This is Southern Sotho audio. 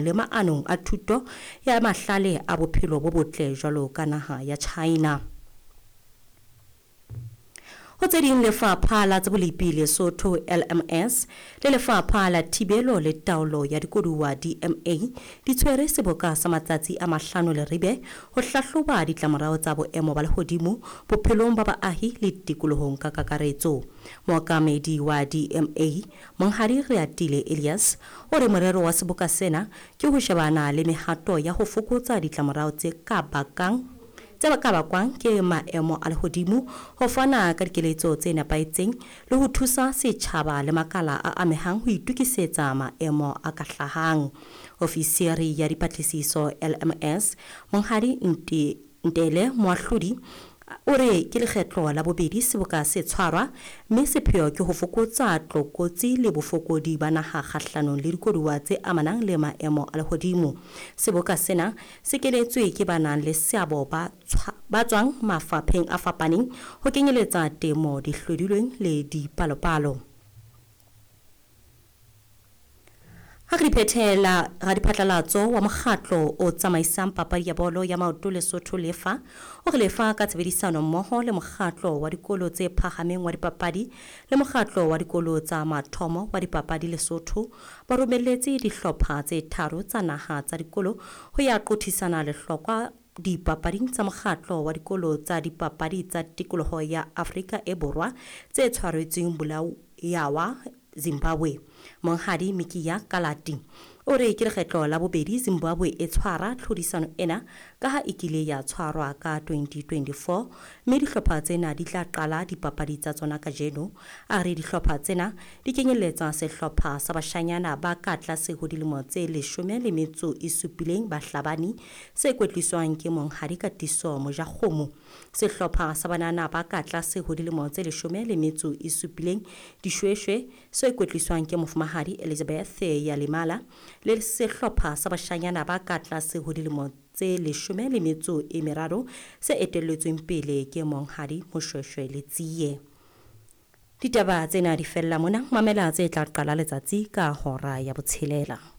Le maanong a thuto ya mahlale a bophelo bo botle jwalo ka naha ya China. Ho tse ding, Lefapha la tsa Bolepi Lesotho, LMS, le Lefapha la Thibelo le Taolo ya Dikoduwa, DMA, di tshwere seboka sa matsatsi a mahlano Leribe ho hlahloba ditlamorao tsa boemo ba lehodimo bophelong ba baahi le tikolohong ka kakaretso. Mookamedi wa DMA, Monghadi Reatile Elias, o re morero wa seboka sena ke ho shebana le mehato ya ho fokotsa ditlamorao tse ka bakang tse ka bakwang ke maemo a lehodimo, ho fana ka dikeletso tse nepahetseng le ho thusa setjhaba le makala a amehang ho itokisetsa maemo a ka hlahang. Ofisiri ya dipatlisiso LMS, Monghadi Ntele Moahlodi, o re ke lekgetlo la bobedi seboka se tshwarwa mme sepheo ke ho fokotsa tlokotsi le bofokodi ba naha kgahlanong le dikoduwa tse amanang le maemo a lehodimo. Seboka sena se kenetswe ke ba nang le seabo ba ba tswang mafapheng a fapaneng ho kenyeletsa temo, dihlodilweng le dipalopalo. Ha re phethela, radiphatlalatso wa mokgatlo o tsamaisang papadi ya bolo ya maoto Lesotho, Lefa, o re Lefa ka tshebedisano mmoho le mokgatlo wa dikolo tse phahameng wa dipapadi le mokgatlo wa dikolo tsa mathomo wa dipapadi Lesotho ba romelletse dihlopha tse tharo tsa naha tsa dikolo ho ya qothisana lehlokwa dipapading tsa mokgatlo wa dikolo tsa dipapadi tsa tikoloho ya Afrika e Borwa tse tshwaretsweng Bulawayo, Zimbabwe. Monghadi Mikiya Kalati o re ke lekgetlo la bobedi Zimbabwe e tshwara tlhodisano ena ka ha e kile ya tshwarwa ka 2024, mme dihlopha tsena di tla qala dipapadi tsa tsona kajeno. A re dihlopha tsena di kenyelletsa sehlopha sa bashanyana ba ka tlase ho dilemo tse 17 Bahlabani se kwetliswang ke Monghadi Katiso Mojakgomo, sehlopha sa banana ba ka tlase ho dilemo tse 17 Dishweshwe se kwetliswang ke Mofumahadi Elizabeth Yalimala, le sehlopha sa bashanyana ba ka tlase ho dilemo tse 13 se etelletsweng pele ke Monghadi Moshweshwe Letsie. Ditaba tsena di fella mona. Mamela tse tla qala letsatsi ka hora ya botshelela.